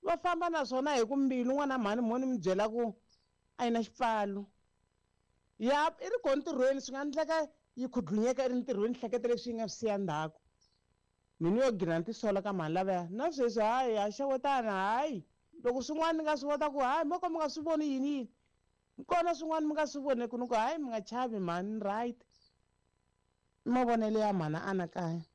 Va famba na swona hi ku mbilu n'wana mhani mo ni mi byela ku a yi na xipfalo. Ya i ri kona ntirhweni swi nga endleka yi khudlunyeka i ri ntirhweni hleketa leswi yi nga swi siya ndzhaku. Mina yo gina ni tisola ka mhani lavaya na sweswi hayi ha xewetana hayi loko swin'wana ni nga swi vona ku hayi mo ka mi nga swi voni yini yini kona swin'wana mi nga swi voneki ni ku hayi mi nga chavi mhani ni right i mavonelo ya mhana anakanya.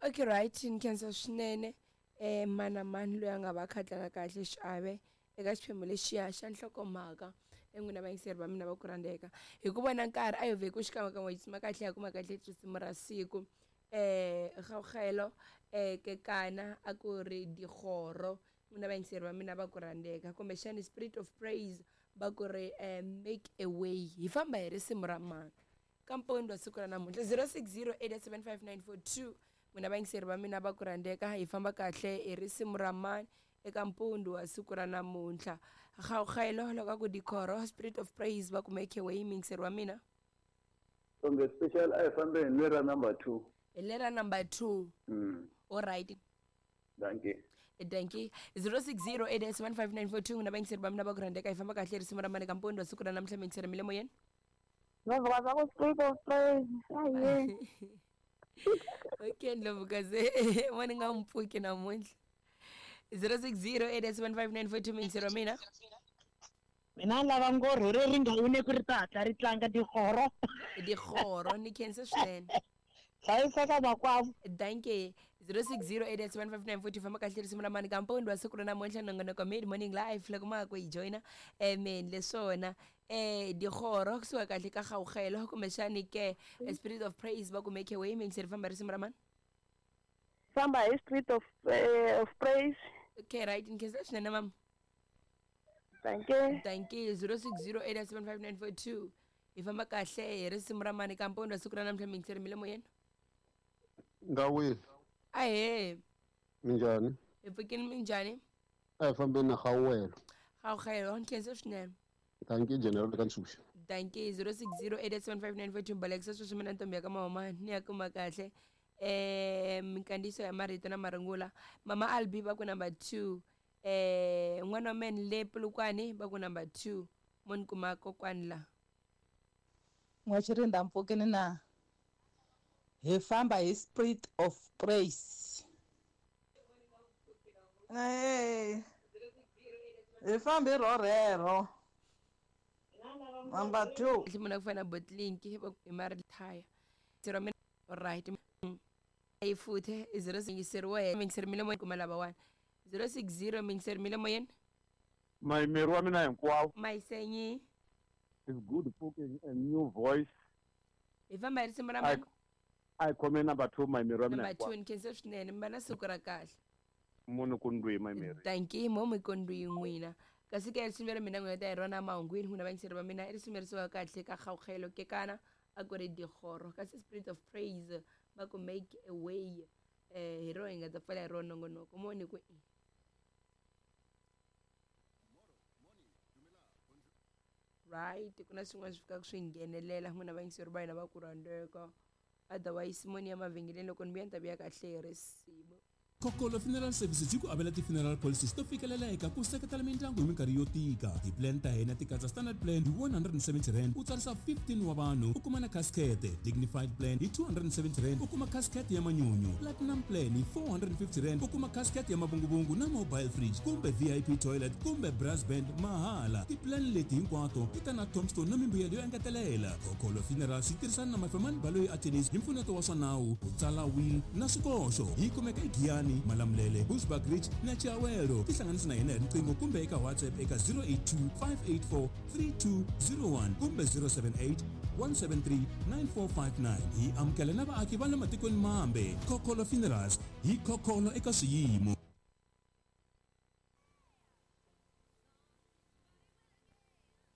Okay right ni khensa swinene eh mana mani loyi a nga va kha tlanga kahle xiave eka xiphemu lexiya xa nhlokomhaka en'wina vayingiseri va mina va ku rhandzeka hi ku vona nkarhi a hi vhe ku xikan'wekan'we hi tsima kahle ya kuma kahle risimu ra siku eh kgaogelo eh kekana a ku ri digoro n'wina vayingiseri va mina va ku rhandzeka kumbexani spirit of praise va ku ri eh, make a way hi famba hi risimu ra mani ka mpondwa siku ra namuntlha 060 875 n'wina vayingiseri va mina va ku rhandzeka hi famba kahle hi risimu ra mani eka mpundzu wa siku ra namuntlha kgaogelo loko a ku dikhoro spirit of praise va ku make a way muyingiseri wa mina Songe special a hi fambeni hi lera number 2. Hi lera number 2. Alright. Dankie. Dankie. 060 8715942 n'wina vayingiseri va mina va ku rhandzeka hi famba kahle risimu ra mani ka mpundzu wa siku ra namuntlha muyingiseri mi le moyeni. Ndlovukazi wa ku Spirit of Praise. Aye. Okay Ndlovukazi mo ni nga n'wi pfuki namuntlha. 060 8715942 muyingiseri wa mina. Mina ni lava ngorho leri nga wine ku ri ta hatla ri tlanga digoro. Digoro ni khense swinene. Hlayiseka makwavo. Dankie. 0608715942 famba kahle risimu ra mani ka mpondwa wa siku ra namuntlha nongonoko mid morning live loko ma ha ku yi joyina amen leswona eh digoro kusuka kahle ka gawugelo kumbexani ke spirit of praise va ku make a way miyingiseri famba risimu ra mani Famba hi Spirit of, of Praise. Okay right ni khensa swinene mama. Dankie. Dankie. 06087594 hi famba kahle hi risimu ra mani ka mpondwa siku ra namuntlha miyingiseri mi le moyeni. Ngawile. Ahee. Minjhani? Hi pfukini minjhani? A hi fambeni na Gawelo. Gawelo, ni khensa swinene. Dankie General ka Ntshuxa. Dankie 06087594 balekisa sweswi mina ntombi ya ka mahoma ni ya kuma kahle eh minkandziyiso ya marito na marungula mama Albi va ku number 2 eh n'wana wa men le Polokwane va ku number 2 mo ni kuma kokwani la N'waxirinda mpfukini na hi famba hi spirit of praise. Hey, hi fambi hi rhorhero number 2. Kahle munhu a ku fana na Botlinki hi marithaya zero mina right yi futhe zero yingiseriwa yingiseri mi le moyeni kuma lava wani 060 mingiseri mi le moyeni. Mayimeri wa mina hinkwawo. Mayisenyi. It's good pfuking a new voice. Hi famba hi risimu ra mani? A hi khome number 2 mayimeri wa mina Number 2 ni khensa swinene mi va na siku ra kahle. Munhu ku ndwi mayimeri. Dankie mo mi ku ndwi n'wina. Kasi ke risimu leri mina n'wina ta hi rona mahungwini n'wina vayingiseri va mina i risimu leri suka kahle ka Kgaugelo Kekana a ku ri digoro kasi spirit of praise va ku make a way eh hi rona hi nga ta pfala hi rona nongonoko mo ni ku i right ku na swin'wana swi fikaka swi nghenelela n'wina vayingiseri va hina va ku rhandzeka otherwise moni ya mavhengeleni loko ni vuya ni ta vuya kahle hi risimu Kokolo Funeral Services yi ku avela ti-funeral policies to fikeleleka ku seketela mindyangu hi minkarhi yo tika. Ti-plan ta hina ti katsa standard plan hi R170 u tsarisa 15 wa vanhu u kuma na casket, dignified plan hi R270 u kuma casket ya manyunyu, platinum plan hi R450 u kuma casket ya mavunguvungu na mobile fridge kumbe VIP toilet kumbe brass band mahala. Ti-plan leti hinkwato ti ta na tombstone na mimbuyelo yo engetelela. Kokolo Funerals yi tirhisana na Mafemani Baloyi Attorneys hi mpfuneto wa swa nawu, ku tsala will na swikoxo. Yi kumeka eGiyani, Malamulele, Bushbuckridge na Chiawelo. Tihlanganisi na hina hi riqingho kumbe eka WhatsApp eka 082 584 3201 kumbe 078 173 9459. Hi amukela na vaaki va le matikweni mambe. Khokholo Funerals, hi khokholo eka swiyimo.